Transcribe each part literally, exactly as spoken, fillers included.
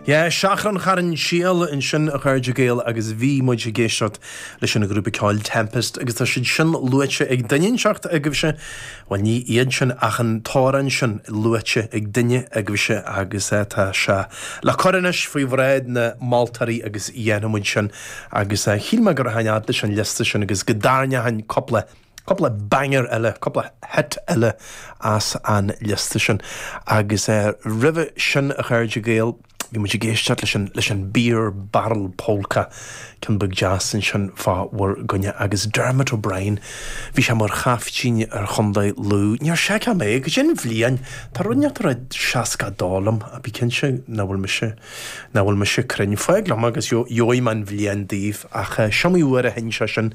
Yeah, Seachrán Charn Síl ansin a chairde Gael agus bhí muid ag éisteacht leis an ghrúpa ceoil Tempest agus tá siad sin luaite ag duine inteacht agaibhse, Well ní iad sin ach an t-amhrán sin luaite ag duine agaibhse agus eh, tá sé le cur anois faoi bhráid na moltóirí agus dhéanfaidh muid sin agus eh, shíl mé go rachainn fhad leis an liosta sin agus go dtarraingeoinn cúpla cúpla banger eile, cúpla hit eile as an liosta sin agus uh, roimhe sin a chairde Gael, Bhí muid ag éisteacht leis an leis an Beer Barrel Polka ceann beag deas ansin fá bhur gcoinne agus Dermot O'Brien bhí sé mar chaiftín ar Chontae Lú. Níor seiceáil mé go sin bhliain Tá rud ar seasca dó liom a bí cinnte nach bhfuil mise nach bhfuil mise cruinn fág liom agus gheobhaidh mé an bhliain daoibh ach is iomaí uair a sheinn sé sin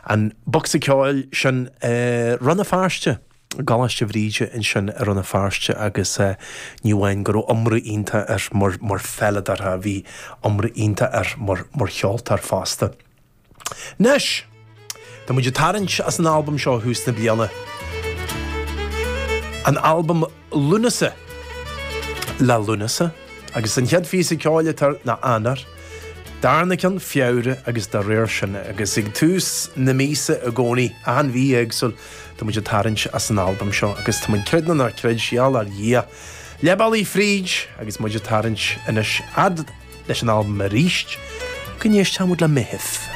an bocsa ceoil sin uh, Rann na Feirste. Coláiste Bhríde ansin i Rann na Feirste agus uh, ní amháin go raibh iomramh iontach air mar mar pheileadóir a bhí iomramh iontach air mar mar cheoltóir fosta. Anois Tá muid ag tarraingt as an albam seo thús na bliana. An albam Lúnasa le Lúnasa agus an chéad phíosa ceoil atá ná Eanáir, Darna ceann Feabhra agus dá réir sin agus ag tús na míosa i gcónaí an mhí éagsúil tá muid ag tarraingt as an albam seo agus tá muid creid nó ná creid seal ar Dhia. Lebaí fríd agus muid ag tarraingt anois fhad leis an albam arís, go n-éistfimid le Meitheamh.